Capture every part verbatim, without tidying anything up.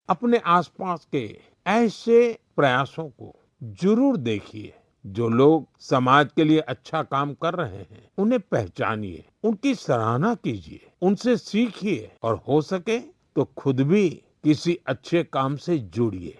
अपने आसपास के ऐसे प्रयासों को जरूर देखिए, जो लोग समाज के लिए अच्छा काम कर रहे हैं, उन्हें पहचानिए, उनकी सराहना कीजिए, उनसे सीखिए और हो सके तो खुद भी किसी अच्छे काम से जुड़िए।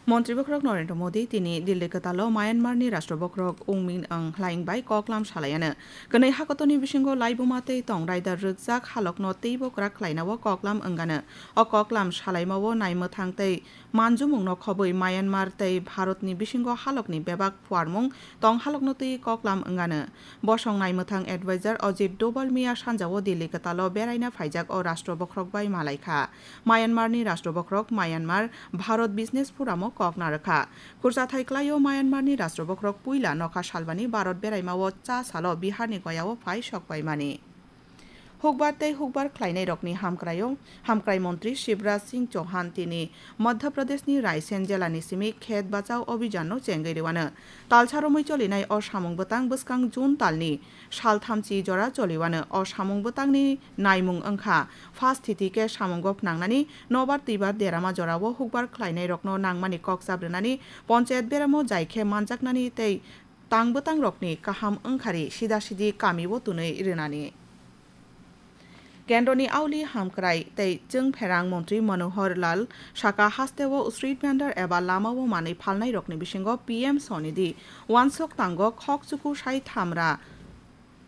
Montri Bokhorok Narendra Modi tini Delhi kwtalo Myanmar ni Rashtra Bokhorok Win Myint Aung Hlaing bai koklam salaiano. Kwnwi hakotoni bisingo laibuma tei tong raida rwkjak halokno teibo kwrak khlainao koklam wngano. O koklam salaimao naimwthang tei manjumungno khobwi Myanmar tei Bharatni bisingo halokni bebak phuarmung tong halokno twi koklam wngano. Bosong naimwthang advisor Ajit Doval miya sanjao Delhi kwtalo beraina phaijak o Rashtra Bokhorok bai malaikha. Myanmar ni Rashtra Bokhorok Myanmar Bharat Business Forum o kok narwkha. Khurchathai kwlaio Myanmar ni Rashtra Bokhorok puila nokha salbani Bharat beraimao cha salo Bihar ni Goya o phai sokpaimani. Hukbar tei hukbar khlainairokni hamkraio, hamkrai montri Shivraj Singh Chauhan tini Madhya Pradesh ni Raisen jela ni simi Khet Bachao Abhijan no chengwi rwano. Talsa romwi cholinai o samung bwtang bwskang June talni sal thamchi jora choliwano. O samung bwtangni naimung wngkha, first thiti khe samungo phnangnani nobar twibar derama jorao hukbar khlainairokno nangmani kok chabrwnani ponchayat beramo jai khe manjaknani tei tang bwtangrokni kaham wngkhari sida sidi kamio twnwi rwnani. Kendroni auli hamkrai tei chwngpherang montri Manohar Lal saka hasteo street vendor eba lamao manwi phalnairokni bisingo P M Swanidhi wansok tango khok chuku sai thamra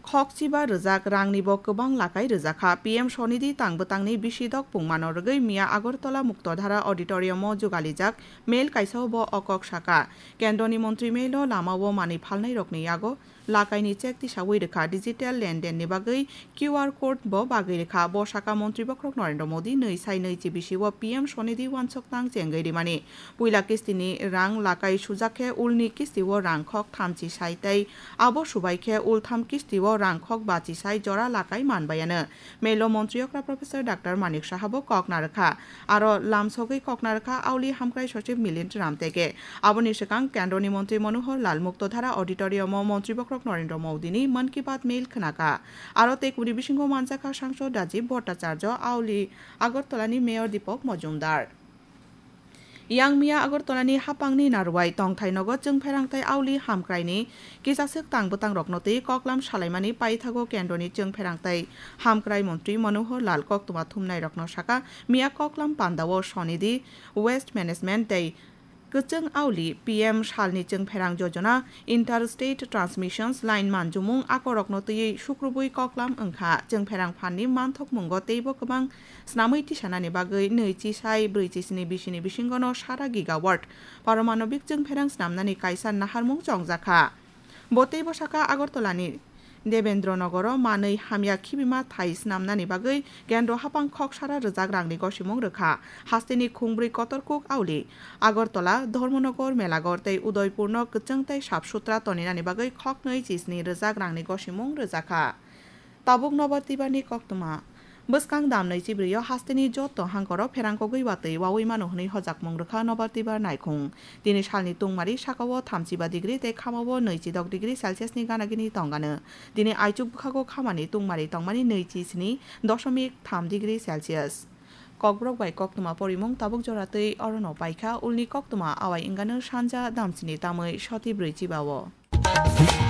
khokchiba rwjak rangnibo kwbang lakai rwjakha. P M Swanidhi tang bwtangni bisi dok pungmano rwgwi miya Agartala Muktodhara Auditorium o jugalijak mail kaisao bo o kok saka. Kendroni montri mailo lamao manwi phalnairokni yago lakaini check tisawi rwkha, digital lendenni bagwi Q R code bo bagwi rwkha. Bo saka montri bokhorok Narendra Modi nwi sai nwi chi bisio P M Swanidhi wansok tang chengwi rimani. Puila kistini rang lakai sujak khe ulni kistio rang khok thamchi sai tei abo subai khe ultham kistio rang khok bachi sai jora lakai manbaiano. Mailo montri okra Professor Doctor Manik Saha bo kok narwkha. Aro lamsogwi kok narwkha auli hamkrai sochib Milind Ramtege. Aboni swkang kendroni montri Manohar Lal Muktodhara Auditorium o montri bokhorok Narendra Modi ni Mann Ki Baat mail khnaka. Aro tei kubuni bisingo manjakha Sangsod Rajiv Bhattacharya, auli Agartala ni Mayor Deepak Majumdar. Yang miya Agartala ni hapang ni Narwai tongthai nogo chwngpherang tei auli hamkrai ni kisaswk tang bwtang rokno twi koklam salaimani paithago kendroni chwngpherang tei hamkrai montri Manohar Lal koktwma thumnai rokno saka miya koklam pandao Swanidhi Waste Management tei kwchwng auli P M salni chwngpherang jojona Interstate Transmissions Line manjumung akorokno twiwi sukrubwi koklam wngkha. Chwngpherang phanni manthokmungo teibo kwbang snamwi tisanani bagwi nwi chi sai brwi chi sni bisini bisingono sara gigawatt paromanobik chwngpherang snamnani kaisa naharmung chongjakha. Bo teibo saka Agartala ni Debendra Nogoro manwi hamya khibima thai snamnani bagwi kendro hapang khok sara rwjak rangni gosimung rwkha. Hasteni khungbrwi kotor kuk auli Agartala, Dharmanagar, Melagar tei Udaipurno kwchwng tei sap sutra toninani bagwi khoknwi chisni rwjak rangni gosimung rwjakha. Tabuk nobar twibarni koktwma. Bwskang damnwi chibrwio hasteni joto hangkoro pherangkogwi watwi wawi mano hwnwi hojakmung rwkha nobar twibar naikhung. Tini salni tungmari sakao thamchiba degree tei khamao nwichidok degree Celsius ni ganagini tongano. Tini aichuk bwkhago khamani tungmari tongmani nwichi sni doshomik tham degree Celsius. Kokborok bai koktwma porimung tabuk jora twi orono paikha, ulni koktwma awai wngano sanja damsini tamwi soti brwi chibao.